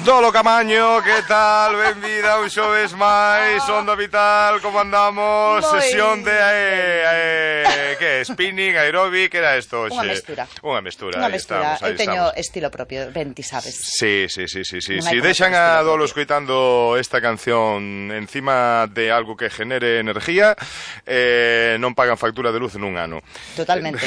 Dolo Camaño, que tal? Benvida un xoves máis, Onda Vital, como andamos? Moi. Sesión de que é? Spinning, aeróbic, que era isto hoxe? Unha mestura. Unha mestura, Unha aí mestura. estamos, aí Eu teño estamos. estilo propio, ben ti sabes. Sí. Non hai Si como deixan ter a estilo Dolo propio. escoitando esta canción encima de algo que genere energía, non pagan factura de luz en un ano. Totalmente.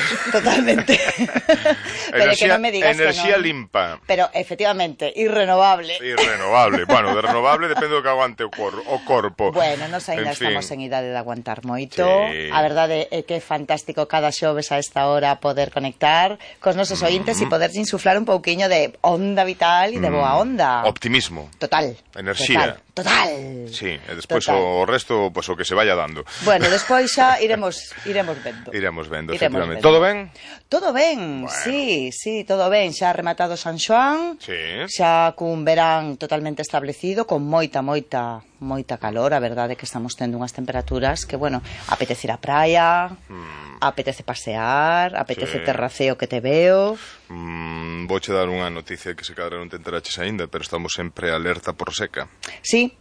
Pero que non me digas enerxía que non. limpa. Pero efectivamente, irrenovable. Irrenovable. Bueno, de renovable depende do que aguante o corpo. Bueno, nos ainda En fin. estamos en idade de aguantar moito. Sí. A verdade é que é fantástico cada xoves a esta hora poder conectar cos nosos ointes e poder insuflar un pouquiño de onda vital e de boa onda. Optimismo. Total. Enerxía. Total. Sí, e despois Total. o resto, pois o que se vaya dando. Bueno, despois xa iremos vendo. Iremos vendo, Iremos efectivamente. vendo. Todo ben? Todo ben, Bueno. sí, todo ben. Xa rematado San Xoán, Sí. xa cun verán totalmente establecido, con moita calor. A verdade é que estamos tendo unhas temperaturas que, bueno, apetece ir á praia, apetece pasear, apetece Sí. terraceo que te veo. Vouche dar unha noticia que se cadra non te enteraches aínda, pero estamos sempre alerta por seca. Sí,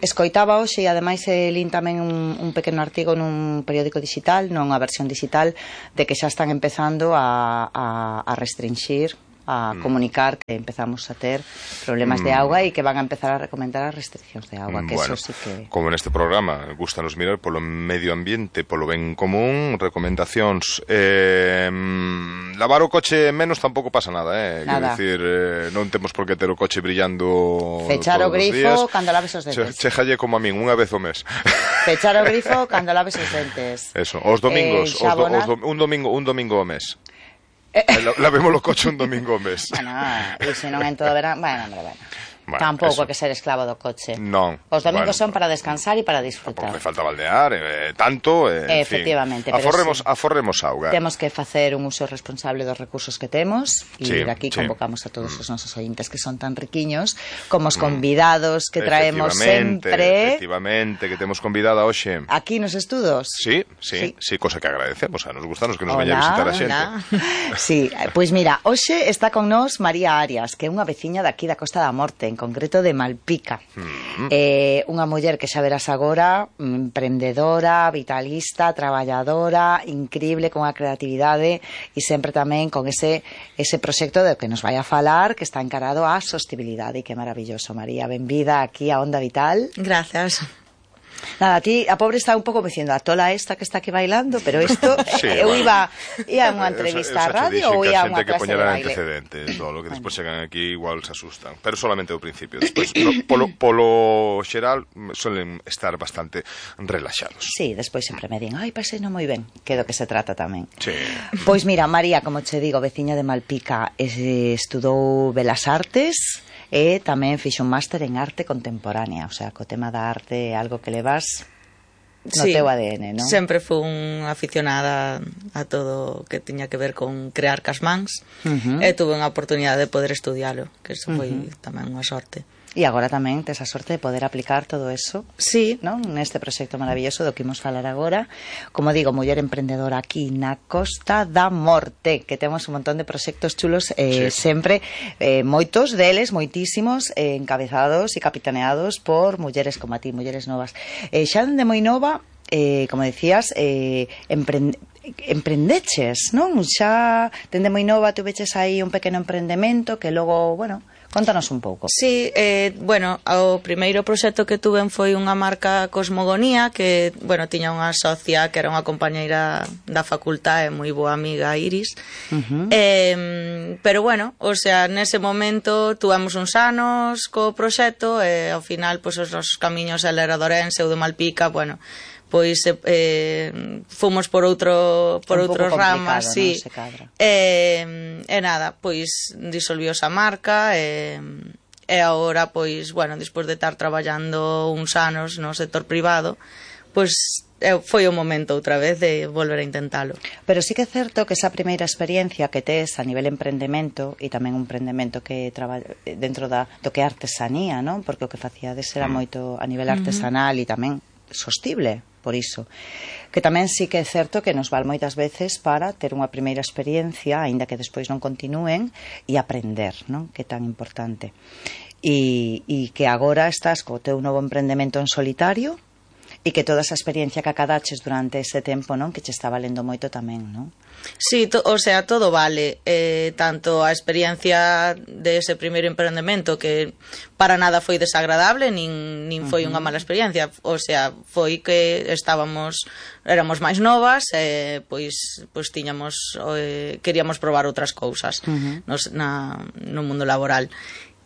escoitaba hoxe e ademais lin tamén un pequeno artigo nun periódico digital, non a versión digital, de que xa están empezando a restringir, a comunicar que empezamos a ter problemas de auga e que van a empezar a recomendar as restriccións de auga, que Bueno, eso sí que... como neste programa gustanos mirar polo medio ambiente, polo ben común, recomendacións. Lavar o coche menos tampouco pasa nada, Nada. Quero dicir, non temos por que ter o coche brillando Fechar o todos os grifo días. cando laves os dentes. Chejalle como a min, unha vez ao mes. Pechar o grifo cando laves os dentes. Eso, os domingos, xabonar. un domingo ao mes. Lavemos o coche un domingo ao mes. Bueno, e se non en todo verán... Bueno. Bueno, Tampouco eso. hai que ser esclavo do coche. Non. Os domingos Bueno, son para descansar e para Tampouco disfrutar. me falta baldear, tanto, en Efectivamente, fin. pero Aforremos auga. Temos que facer un uso responsable dos recursos que temos e Sí, daqui sí. convocamos a todos os nosos ointes que son tan riquiños como os convidados que traemos sempre Efectivamente, que temos convidada hoxe. aquí nos estudos. Sí, cosa que agradecemos, nos gustanos que nos veña a visitar a xente. Sí, pois mira, hoxe está con nós María Arias, que é unha veciña daqui da Costa da Morte, en concreto de Malpica. Unha muller que xa verás agora, emprendedora, vitalista, traballadora, increíble, con a creatividade e sempre tamén con ese proxecto do que nos vai a falar, que está encarado á sostibilidade, e que maravilloso, María, benvida aquí a Onda Vital. Gracias. Nada, a ti, a pobre está un pouco diciendo a tola esta que está aquí bailando, pero isto, Sí, eu bueno. iba a unha entrevista a radio ou ia a unha que clase de poñera baile. antecedentes, lo que despois chegan aquí igual se asustan, pero solamente ao principio. Despois, polo xeral, suelen estar bastante relaxados. Sí, despois sempre me din, ai, pasei non moi ben, que do que se trata tamén. Sí. Pois mira, María, como che digo, veciña de Malpica, estudou Belas Artes e tamén fixo un máster en arte contemporánea, o sea, co tema da arte é algo que levas no teu ADN, non? Sempre fui aficionada a todo o que tiña que ver con crear cas mans e tuve unha oportunidade de poder estudialo, que eso foi tamén unha sorte. E agora tamén tes a sorte de poder aplicar todo eso, Sí, non? Neste proxecto maravilloso do que imos falar agora. Como digo, muller emprendedora aquí na Costa da Morte, que temos un montón de proxectos chulos, Sí. sempre, moitos deles, moitísimos, encabezados e capitaneados por mulleres como a ti, mulleres novas. Xa dende moi nova, como decías, emprendeches, non? Xa dende moi nova tuveches aí un pequeno emprendemento que logo, bueno, contanos un pouco. sí, bueno, o primeiro proxecto que tuve foi unha marca Cosmogonía, que, bueno, tiña unha socia que era unha compañeira da facultade, moi boa amiga, Iris. Pero bueno, o sea, nese momento tuvemos uns anos co proxecto e ao final, pois, os nosos camiños, ela era de Ourense, eu de Malpica, bueno, pois fomos por outras ramas, sí. Non se cadra. E nada, pois disolviose a marca e agora, pois, bueno, despois de estar traballando uns anos no sector privado, pois foi o momento outra vez de volver a intentalo. Pero sí que é certo que esa primeira experiencia que tes a nivel emprendemento e tamén un emprendemento que dentro do que é artesanía, non? Porque o que facíades era moito a nivel artesanal e tamén sostible, por iso. Que tamén sí que é certo que nos val moitas veces para ter unha primeira experiencia, aínda que despois non continúen, e aprender, non? Que é tan importante. e que agora estás co teu novo emprendemento en solitario e que toda esa experiencia que acadaches durante ese tempo, non, que che está valendo moito tamén, non? Sí, o sea, todo vale, tanto a experiencia de ese primeiro emprendemento, que para nada foi desagradable, nin foi unha mala experiencia, o sea, foi que éramos máis novas, pois tiñamos, queríamos probar outras cousas no mundo laboral.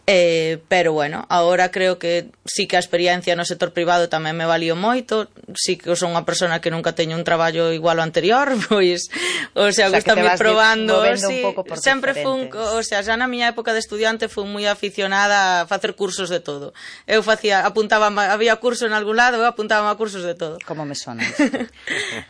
Pero bueno, agora creo que sí que a experiencia no sector privado tamén me valió moito, sí que son unha persona que nunca teño un traballo igual ao anterior, pois, o sea, gustame probando, sí, sempre fun, o sea, xa na miña época de estudiante fun moi aficionada a facer cursos de todo. Eu apuntaba, había curso en algún lado, eu apuntaba a cursos de todo. Como me sona.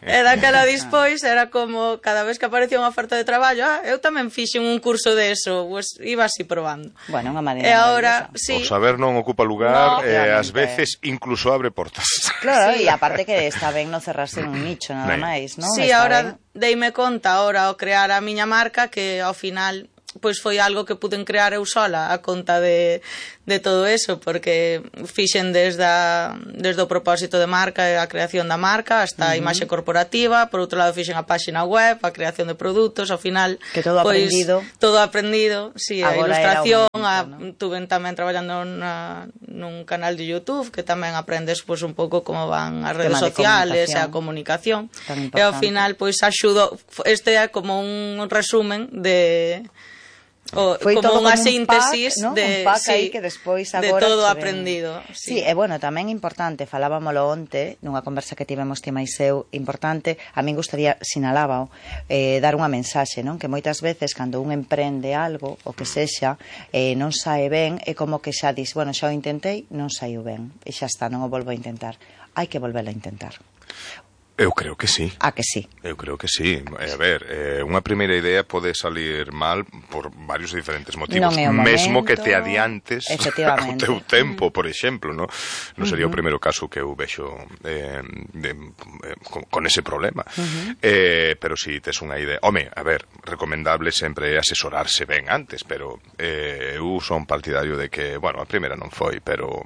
E daquela dispois era como, cada vez que aparecía unha oferta de traballo, eu tamén fixen un curso de eso, pues iba así probando. Bueno, unha maneira. E agora, sí. O saber non ocupa lugar, ás veces incluso abre portas. Claro, e aparte que está ben non cerrarse un nicho nada máis, non? Sí, agora deime conta, agora ao crear a miña marca, que ao final pois foi algo que puden crear eu sola a conta de todo eso, porque fixen desde o propósito de marca e a creación da marca hasta a imaxe corporativa, por outro lado fixen a página web, a creación de produtos, ao final que todo pois, todo aprendido, sí, a ilustración, tuve tamén traballando nun canal de YouTube que tamén aprendes pois un pouco como van as redes sociales e a comunicación, e ao final pois axudo, este é como un resumen de foi como unha un síntesis pack, ¿no? de, un pack sí, aí que despois agora de todo aprendido. Sí, e bueno, tamén importante, falábamolo onte nunha conversa que tivemos ti máis eu, importante, a min gustaría, sinalábao, dar unha mensaxe, non? Que moitas veces cando un emprende algo, o que sexa, non sae ben, é como que xa dis, bueno, xa o intentei, non saiu ben, e xa está, non o volvo a intentar. Hai que volverlo a intentar. Eu creo que sí. Ah, que sí. Eu creo que sí. A ver, unha primeira idea pode salir mal por varios diferentes motivos. Mesmo que te adiantes ao teu tempo, por exemplo, non sería o primeiro caso que eu vexo con ese problema. Pero si tes unha idea... Home, a ver, recomendable sempre asesorarse ben antes, pero eu son partidario de que, bueno, a primeira non foi, pero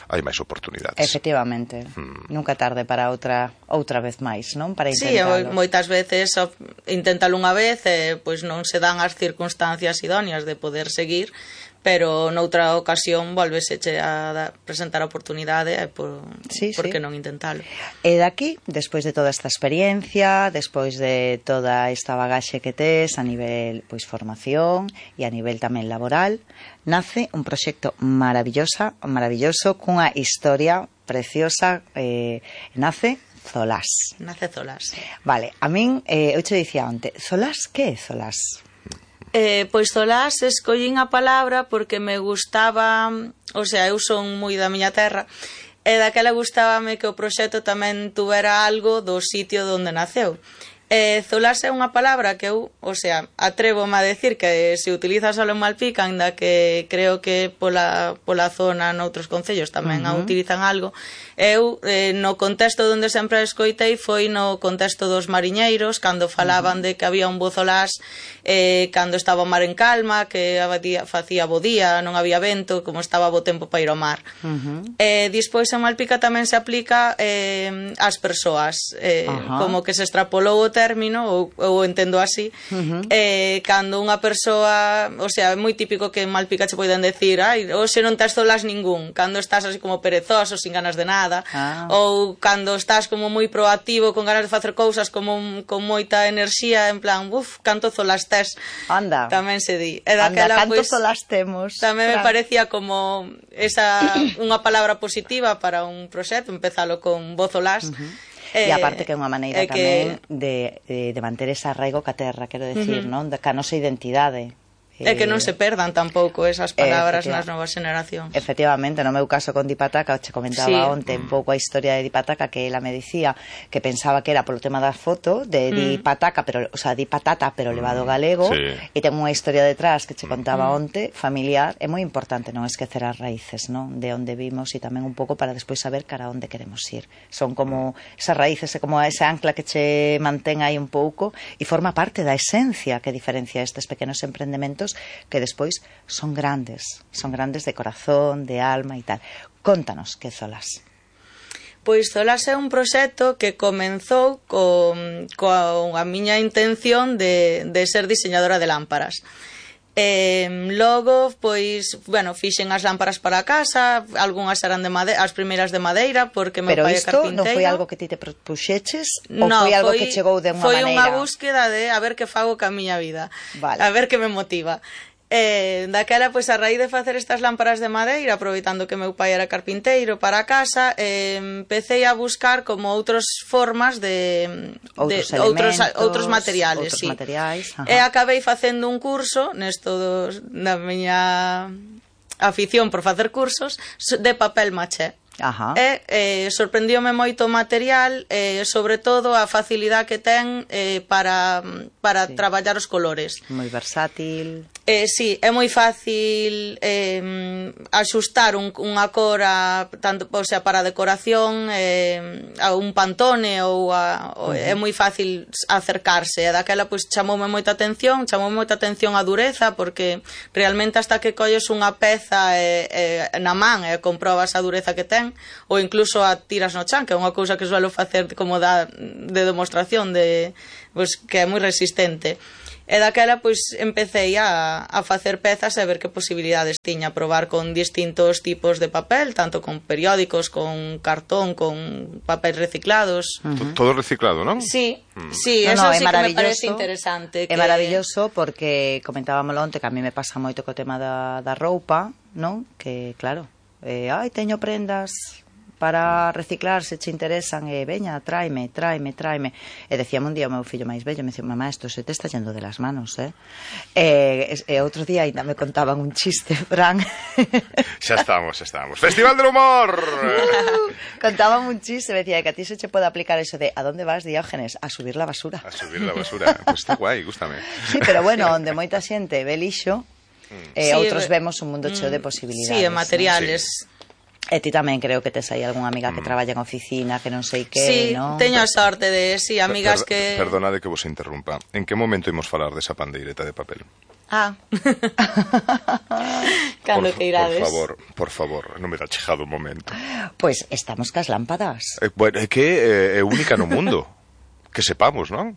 hai máis oportunidades. Efectivamente. Nunca tarde para outra vez máis, non? Para Sí, intentalo. moitas veces inténtalo unha vez e pois non se dan as circunstancias idóneas de poder seguir, pero noutra ocasión volveseche a presentar a oportunidade e por que non intentalo. E daqui, despois de toda esta experiencia, despois de toda esta bagaxe que tes a nivel pois formación e a nivel tamén laboral, nace un proxecto maravilloso cunha historia preciosa, nace Zolás. Nace Zolás. Vale, a min, eu che dicía onte, Zolás, que é Zolás? Pois Zolás escollín a palabra porque me gustaba, o sea, eu son moi da miña terra, e daquela gustábame que o proxecto tamén tuvera algo do sitio onde naceu. Zolás é unha palabra que eu, o sea, atrévome a decir que se utiliza só en Malpica, ainda que creo que pola zona noutros concellos tamén a utilizan algo. Eu, no contexto onde sempre a escoitei foi no contexto dos mariñeiros, cando falaban de que había un bo Zolás, cando estaba o mar en calma, que facía bo día, non había vento, como estaba bo tempo para ir ao mar. Despois en Malpica tamén se aplica ás persoas, como que se extrapolou o término, ou entendo así, cando unha persoa, o sea, é moi típico que en Malpica che poden decir, hoxe non tes Zolás ningún, cando estás así como perezoso, sin ganas de nada, ou cando estás como moi proactivo, con ganas de facer cousas con moita enerxía, en plan, canto Zolás tes. Anda. Tamén se di. Canto Zolás temos. Tamén me parecía como unha palabra positiva para un proxecto, empezalo con bo Zolás. E aparte que é unha maneira tamén de manter ese arraigo ca terra, quero decir, non? Ca nosa identidade. E que non se perdan tampouco esas palabras nas novas xeneracións. Efectivamente, no meu caso con Dipataca, che comentaba onte un pouco a historia de Dipataca, que ela me dicía que pensaba que era polo tema da foto de Dipataca, pero, o sea, Dipatata, pero levado galego, e ten unha historia detrás que che contaba onte, familiar. É moi importante non esquecer as raíces, non? De onde vimos e tamén un pouco para despois saber cara onde queremos ir. Son como esas raíces, é como esa ancla que che mantén aí un pouco e forma parte da esencia que diferencia estes pequenos emprendamentos proxectos que despois son grandes de corazón, de alma e tal. Contanos que Zolas. Pois Zolas é un proxecto que comenzou coa miña intención de ser diseñadora de lámparas. Logo, pois, bueno, fixen as lámparas para a casa, algunhas eran de madeira, as primeiras de madeira, porque meu pai é carpinteiro. Pero isto non foi algo que ti te propuxeches? Ou foi algo que chegou de unha maneira? Foi unha búsqueda de a ver que fago ca miña vida, a ver que me motiva. Daquela, pois, a raíz de facer estas lámparas de madeira, aproveitando que meu pai era carpinteiro para a casa, empecé a buscar como outras formas de outros materiales, sí. E acabei facendo un curso nesto da miña afición por facer cursos de papel maché. Ajá. E sorprendióme moito o material, sobre todo a facilidade que ten para traballar os colores. Moi versátil. Sí, é moi fácil axustar unha cor tanto, o sea, para a decoración, a un Pantone ou é moi fácil acercarse. E daquela pois chamoume moita atención a dureza, porque realmente hasta que colles unha peza na man e comprobas a dureza que ten, ou incluso a tiras no chan, que é unha cousa que suelo facer como de demostración pois, que é moi resistente. E daquela pois empecé a facer pezas e ver que posibilidades tiña, probar con distintos tipos de papel, tanto con periódicos, con cartón, con papel reciclados. Todo reciclado, non? Sí, sí, eso sí que me parece interesante. É maravilloso porque comentábamolo onte que a mí me pasa moito co tema da roupa, non? Que claro, teño prendas para reciclar, se che interesan, veña, tráeme. E decíame un día o meu fillo máis vello, me dicía, mamá, isto se te está yendo de las manos, E outro día ainda me contaban un chiste, Fran. Xa estamos. Festival del Humor! Contaban un chiste, me decía que a ti se che pode aplicar eso de ¿a dónde vas, Diógenes? A subir la basura. A subir la basura, pues está guai, gústame. Sí, pero bueno, onde moita xente ve lixo, outros vemos un mundo cheo de posibilidades. Sí, de materiales. Sí. E ti tamén creo que tes aí algunha amiga que traballa en oficina, que non sei que, sí, non? Teño a sorte de, amigas que... Perdonade que vos interrumpa. En que momento imos falar desa pandeireta de papel? Cando que irades. Por favor, non me dá chegado o momento. Pois estamos cas lámpadas. Bueno, é que é única no mundo. Que sepamos, non?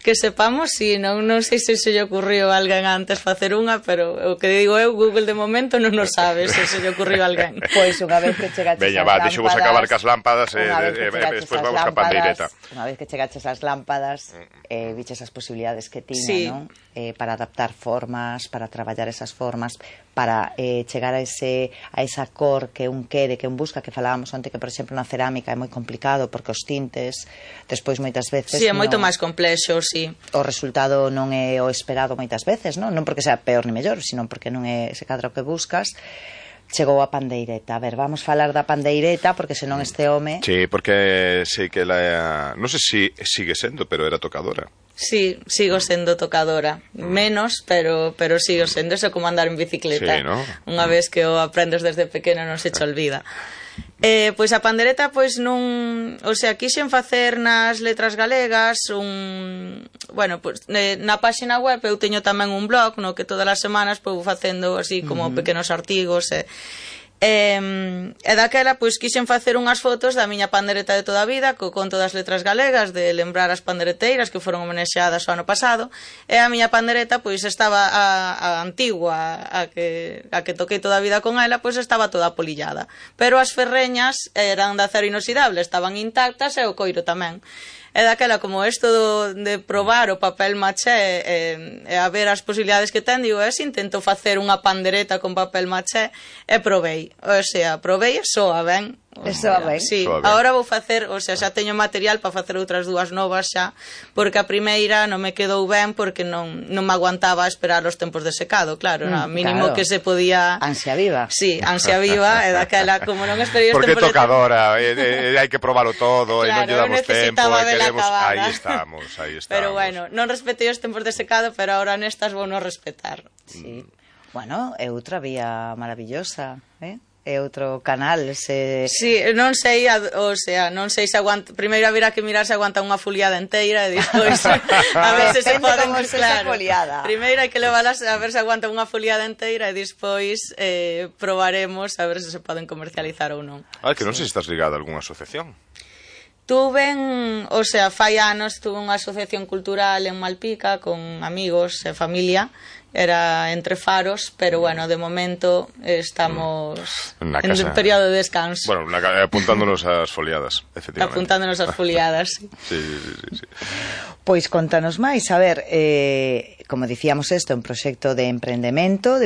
Que sepamos, si, non sei se lle ocurriu a alguén antes facer unha, pero o que digo eu, Google de momento non nos sabe se lle ocurriu a alguén. Pois unha vez que chegaches as lámpadas... Veña, deixo vos acabar cas lámpadas e despois vamos ca pandeireta. Unha vez que chegaches as lámpadas, viches as posibilidades que tiña, non? Para adaptar formas, para traballar esas formas, para chegar a esa cor que un quere, que un busca, que falábamos onte que, por exemplo, na cerámica é moi complicado porque os tintes, despois moitas veces... Sí, é moito máis complexo, sí. O resultado non é o esperado moitas veces, non porque sea peor ni mellor, sino porque non é ese cadro que buscas. Chegou a pandeireta. A ver, vamos falar da pandeireta porque senón este home... Sí, porque sei que ela... Non sei se sigue sendo, pero era tocadora. Sí, sigo sendo tocadora. Menos, pero sigo sendo. Eso como andar en bicicleta. Sí, ¿no? Unha vez que o aprendes desde pequeno non se te olvida. Pois a pandereta, pois non... O sea, quixen facer nas letras galegas bueno, pois na páxina web eu teño tamén un blog no que todas as semanas vou facendo así como pequenos artigos e daquela pois quixen facer unhas fotos da miña pandereta de toda a vida con todas as letras galegas, de lembrar as pandereteiras que foron homenaxeadas o ano pasado, e a miña pandereta pois estaba a antigua, a que toquei toda a vida con ela, pois estaba toda polillada, pero as ferreñas eran de acero inoxidable, estaban intactas e o coiro tamén. E daquela, como isto de probar o papel maché e a ver as posibilidades que ten, digo, intento facer unha pandereta con papel maché e probei. O sea, probei e soa ben. Soa ben. Sí, agora vou facer, o sea, xa teño material para facer outras dúas novas xa, porque a primeira non me quedou ben porque non me aguantaba esperar os tempos de secado, claro, mínimo que se podía... Ansia viva. Sí, ansia viva, e daquela, como non esperei os porque tempos de... Porque tocadora, hai que probalo todo, e non lle damos tempo, e queremos... Aí estamos. Pero bueno, non respetei os tempos de secado, pero agora nestas vou non respetar. Sí. Bueno, é outra vía maravillosa, é outro canal. Sí, non sei, o sea, non sei se aguanta. Primeiro haberá que mirar se aguanta unha foliada inteira e despois a ver se poden, como se esa foliada. Primeiro hai que leválas a ver se aguanta unha foliada inteira e despois probaremos a ver se se poden comercializar ou non. Que non sei se estás ligada a algunha asociación. O sea, fai anos tuve unha asociación cultural en Malpica con amigos e familia, era entre faros, pero bueno, de momento estamos en un periodo de descanso. Bueno, apuntándonos ás foliadas, efectivamente. Apuntándonos ás foliadas, sí. Sí. Pois contanos máis, a ver, como dicíamos isto, un proxecto de emprendemento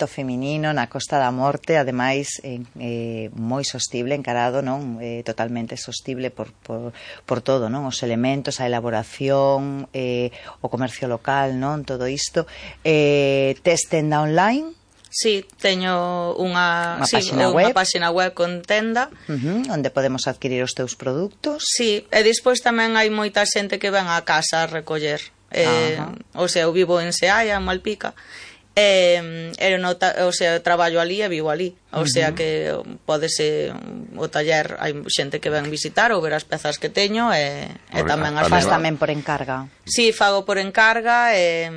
feminino na Costa da Morte, ademais moi sostible, encarado, non? Totalmente sostible por todo, non? Os elementos, a elaboración, o comercio local, non? Todo isto. Tes tenda online? Sí, teño unha páxina web con tenda onde podemos adquirir os teus produtos. Sí, e despois tamén hai moita xente que ven á casa a recoller. O sea, eu vivo en Seaia, en Malpica, o sea, traballo ali e vivo ali, o sea que podese o taller, hai xente que ven visitar ou ver as pezas que teño e tamén as faz tamén por encarga. Si, fago por encarga e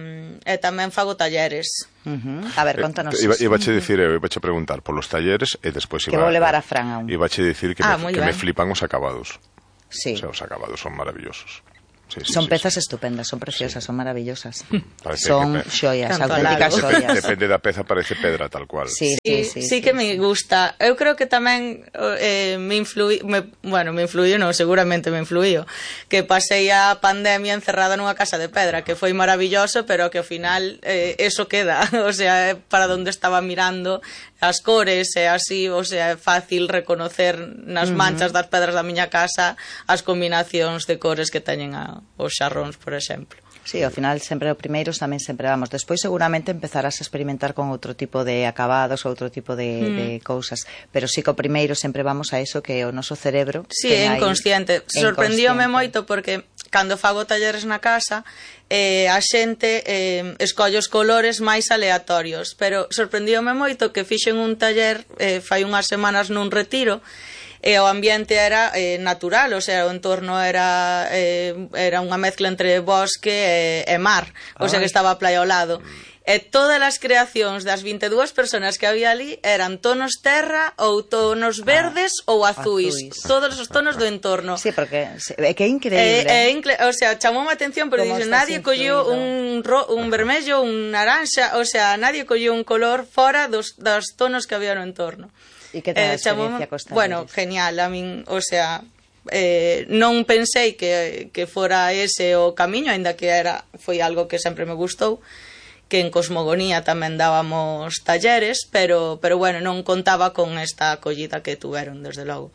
tamén fago talleres. A ver, contanos. Ibache dicir, ibache preguntar por los talleres e despois que vou levar a Fran a un. Ibache dicir que me flipan os acabados. Sí. O sea, os acabados son maravillosos. Son pezas estupendas, son preciosas, son maravillosas. Son xoias, auténticas xoias. Depende da peza, parece pedra tal cual. Sí que me gusta. Eu creo que tamén me influiu, non, seguramente me influiu, que pasei a pandemia encerrada nunha casa de pedra, que foi maravilloso, pero que ao final eso queda, o sea, para onde estaba mirando as cores e así, o sea, é fácil reconocer nas manchas das pedras da miña casa as combinacións de cores que teñen os xarróns, por exemplo. Sí, ao final sempre o primeiro tamén sempre vamos. Despois seguramente empezarás a experimentar con outro tipo de acabados, outro tipo de cousas, pero sí que o primeiro sempre vamos a eso que o noso cerebro é inconsciente. Sorprendíome moito porque cando fago talleres na casa a xente escolle os colores máis aleatorios, pero sorprendíome moito que fixen un taller fai unhas semanas nun retiro e o ambiente era natural, o sea, o entorno era unha mezcla entre bosque e mar, o sea que estaba a playa ao lado. E todas as creacións das 22 persoas que había ali eran tonos terra ou tonos verdes ou azuis. Todos os tonos do entorno. Sí, porque é que é increíble. O sea, chamoume a atención, pero dixe, nadie colleu un vermello, un naranja, o sea, nadie colleu un color fora dos tonos que había no entorno. E que tal a experiencia costa? Bueno, genial, a min, o sea, non pensei que fora ese o camiño, aínda que foi algo que sempre me gustou, que en Cosmogonía tamén dábamos talleres, pero bueno, non contaba con esta acollida que tuveron, desde logo.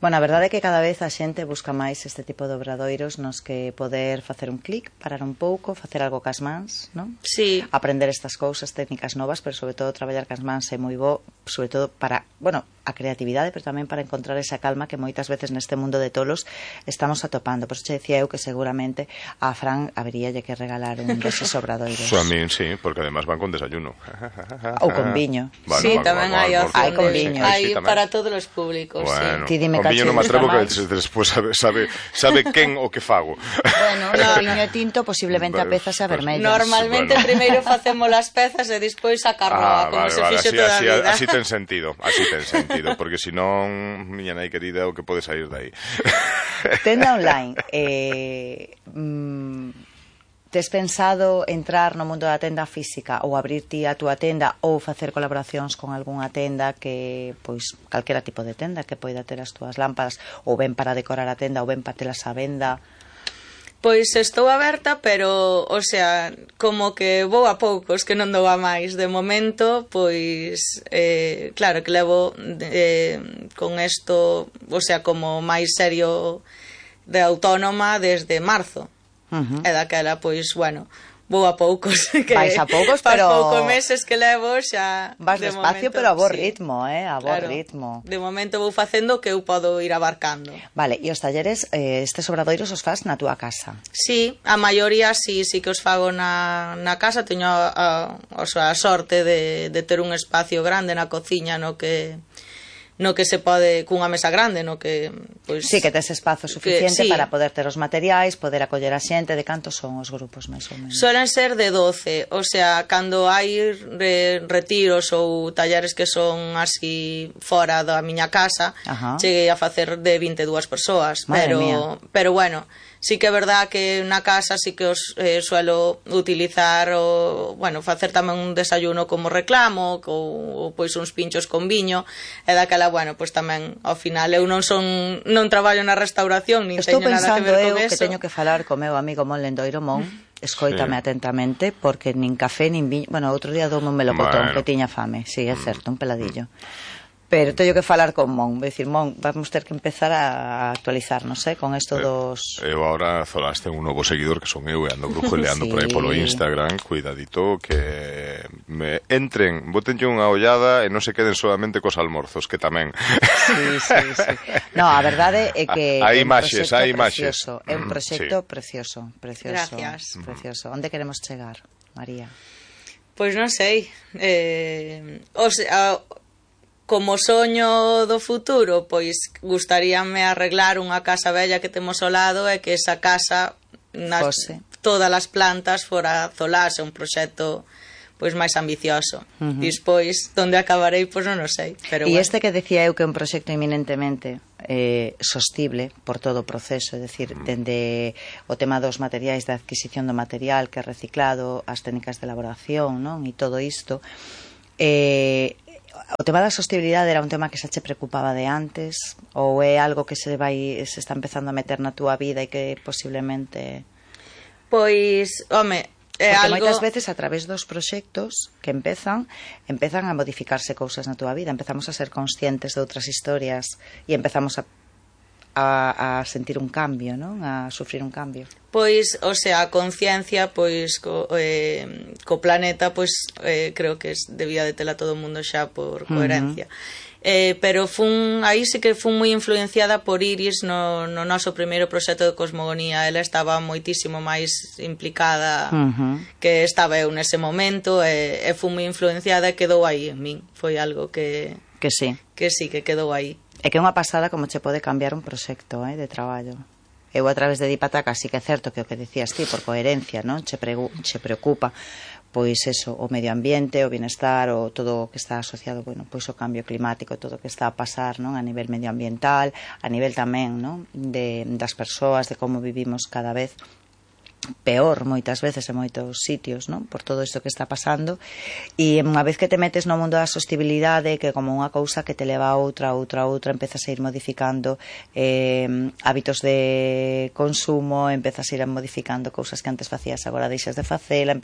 Bueno, a verdade é que cada vez a xente busca máis este tipo de obradoiros nos que poder facer un clic, parar un pouco, facer algo cas mans, non? Sí. Aprender estas cousas, técnicas novas, pero sobre todo traballar cas mans é moi bo, sobre todo para, bueno, a creatividade, pero tamén para encontrar esa calma que moitas veces neste mundo de tolos estamos atopando. Por eso che decía eu que seguramente a Fran haberíalle que regalar un deses obradoiros. A min, sí, porque además van con desayuno. Ou con viño. Bueno, sí, tamén hai opción. Hai con viño. Hai para todos os públicos, bueno, sí. Con viño non me atrevo que despois sabe quen o que fago. Bueno, o viño tinto posiblemente a peza xa vermella. Normalmente primeiro facemos as pezas e despois a carroa, como se fixo toda a vida. Así ten sentido, porque senón, miña nai querida, o que pode sair de aí. Tenda online, tes pensado entrar no mundo da tenda física ou abrir ti a túa tenda ou facer colaboracións con algunha tenda que, pois, calquera tipo de tenda que poida ter as túas lámpadas ou ben para decorar a tenda ou ben para telas a venda? Pois estou aberta, pero, o sea, como que vou a poucos, que non dou a máis. De momento, pois, claro que levo con isto, o sea, como máis serio de autónoma desde marzo. E daquela, pois, bueno, vou a poucos. Vais a poucos, pero... poucos meses que levo xa... Vas despacio, momento, pero a bo sí. ritmo, a bo ritmo. De momento vou facendo o que eu podo ir abarcando. Vale, e os talleres, estes obradoiros os fas na túa casa? Sí, a maioría sí que os fago na casa. Teño a sorte de ter un espacio grande na cociña no que no que se pode cunha mesa grande, no que pois Sí, que tes espazo suficiente sí. para poder ter os materiais, poder acoller a xente. De cantos son os grupos, máis ou menos? Solen ser de 12, o sea, cando hai retiros ou talleres que son así fora da miña casa, cheguei a facer de 22 persoas, pero bueno, sí que é verdad que na casa sí que os suelo utilizar o, bueno, facer tamén un desayuno como reclamo ou pois uns pinchos con viño, e daquela, bueno, pois tamén ao final eu non traballo na restauración, nin teño nada que ver con eso. Estou pensando eu que teño que falar co meu amigo Mon Lendoiro. Mon, escoítame atentamente, porque nin café nin viño, bueno, outro día doume un melocotón que tiña fame, sí, é certo, un peladillo. Pero teño que falar con Mon, decir, Mon, vamos ter que empezar a actualizarnos, con isto dos... Eu agora zolaste un novo seguidor que son eu e ando brujuleando por aí polo Instagram, cuidadito, que me entren, botenlle unha ollada e non se queden solamente cos almorzos, que tamén. Sí. No, a verdade é que hai imaxes. É un proxecto precioso. Gracias. Precioso. Onde queremos chegar, María? Pois non sei. O sea, como soño do futuro, pois gustaríame arreglar unha casa bella que temos ao lado e que esa casa, todas as plantas, fora zolase, un proxecto pois máis ambicioso. Despois, onde acabarei, pois non o sei. E este que decía eu que é un proxecto eminentemente sostible por todo o proceso, é dicir, dende o tema dos materiais, da adquisición do material que é reciclado, as técnicas de elaboración, non? E todo isto, o tema da sostibilidade era un tema que xa che preocupaba de antes, ou é algo que se está empezando a meter na túa vida e que posiblemente... Pois, home, é porque algo... moitas veces a través dos proxectos que empezan a modificarse cousas na túa vida, empezamos a ser conscientes de outras historias e empezamos a sentir un cambio, non? A sufrir un cambio. Pois, o sea, a conciencia, pois, co planeta, pois, creo que debía de tela todo o mundo xa por coherencia. Pero aí sí que fun moi influenciada por Iris no noso primeiro proxecto de cosmogonía. Ela estaba moitísimo máis implicada que estaba eu nese momento, e fun moi influenciada e quedou aí en min. Foi algo que quedou aí. É que é unha pasada como che pode cambiar un proxecto de traballo. Eu a través de Dipataca sí que é certo que o que decías ti, por coherencia, non? Che preocupa pois eso, o medio ambiente, o bienestar, o todo o que está asociado, bueno, pois o cambio climático, todo o que está a pasar, non? A nivel medioambiental, a nivel tamén, non? Das persoas, de como vivimos cada vez peor moitas veces en moitos sitios, non? Por todo isto que está pasando, e unha vez que te metes no mundo da sostibilidade, que como unha cousa que te leva a outra, empezas a ir modificando hábitos de consumo, empezas a ir modificando cousas que antes facías, agora deixas de facela,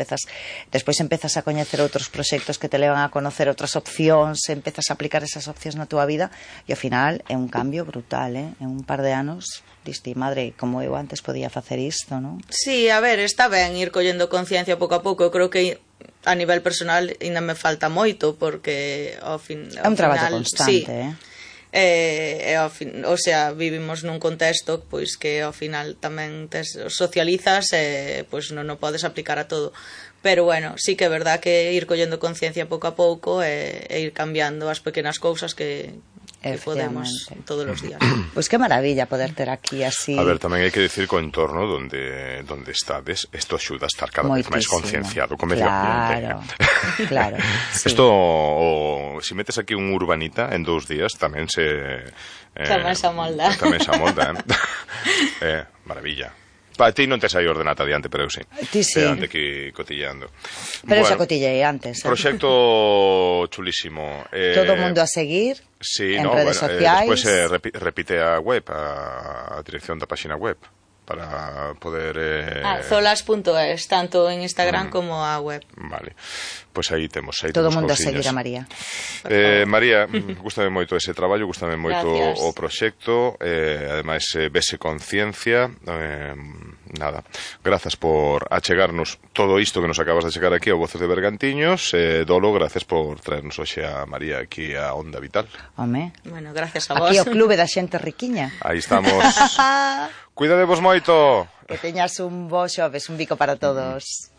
despois empezas a coñecer outros proxectos que te levan a conocer outras opcións, empezas a aplicar esas opcións na túa vida, e ao final é un cambio brutal, en un par de anos diste, madre, como eu antes podía facer isto, non? Sí, a ver, está ben ir collendo conciencia pouco a pouco. Eu creo que a nivel personal ainda me falta moito, porque ao final... É un traballo constante, o sea, vivimos nun contexto pois que ao final tamén socializas e pois non o podes aplicar a todo. Pero bueno, sí que é verdad que ir collendo conciencia pouco a pouco e ir cambiando as pequenas cousas que podemos todos os días. Pois que maravilla poder ter aquí así. A ver, tamén hai que decir que o entorno donde estades, isto axuda a estar cada vez máis concienciado co medio ambiente. Claro. Isto, se metes aquí un urbanita en 2 días, tamén se amolda. Tamén se amolda, maravilla. Pa ti non te sai ordenata adiante, pero eu sí. Ti sí. Ande aquí cotilleando. Pero xa cotillei antes. Proxecto chulísimo. Todo o mundo a seguir en redes sociais. Despois repite a web, a dirección da página web, para poder... zolas.es, tanto en Instagram como a web. Vale, pois aí temos todo o mundo a seguir a María. María, gústame moito ese traballo, gústame moito o proxecto, ademais vese conciencia, nada, grazas por achegarnos todo isto que nos acabas de chegar aquí ao Voces de Bergantiños. Dolo, gracias por traernos hoxe a María aquí a Onda Vital. Home, bueno, gracias a vos. Aquí o clube da xente riquiña. Aí estamos. Cuidadevos moito. Que teñas un bo xoves, un bico para todos.